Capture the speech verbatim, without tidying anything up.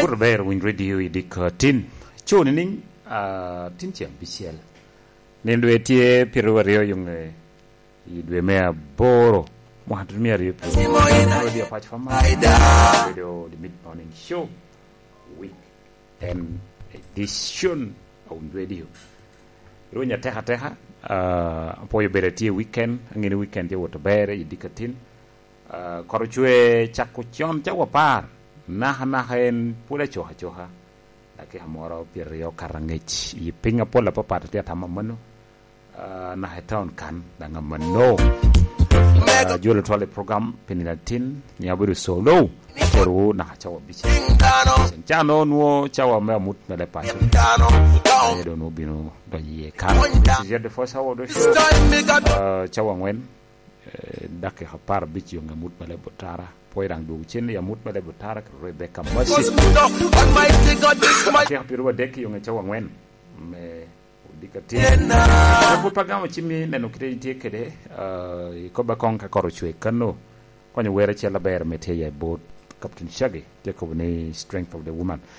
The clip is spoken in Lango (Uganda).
Pwod aber winy radio i diko tin. Coo nining? Ah, tin ce abicel. Nino dwe tye pyeraryo aryo yoŋe i dwe me aboro. Mwaka tutumia aryo pyeraryo. Radio Apac Fama. Radio The Mid Morning Show. Weekend edition of radio. Rweny ateka ateka. Ah, apwoyo bedo tye weekend. Angeni weekend tye wot aber i diko tin. Ah, kor ocwe cako con ca wapar, naka naka en pwod acoka acoka. Dakika moro pyeraryo okato angec. I piny apol apapat atye atamo amanno. Ah, naka i taun kan daŋ amanno. Ah, jolo twal i program pi nino atin, ni abedo solo. Terowu naka cawa abicel. Can ca no nwo cawa me amut me leb paco. Aye doŋ nwo bino donyo iye kan. This is yet the first hour of the show. Ah, cawa angwen. Eh, dakika apar abic yoŋe amut me leb otara. Pwoyo daŋ dwogo cen i amut me leb otara kede Rebecca Mercy. Dakika pyeraryo adek yoŋe cawa angwen me odiko atin. Pwod pe agamo cimmi neno kite itye kede, ah, ikoba koŋ ka kor ocwe kano. Konyo wer acel aber me tye i bot Captain Shaggy, tye kobo ni Strength of the Woman.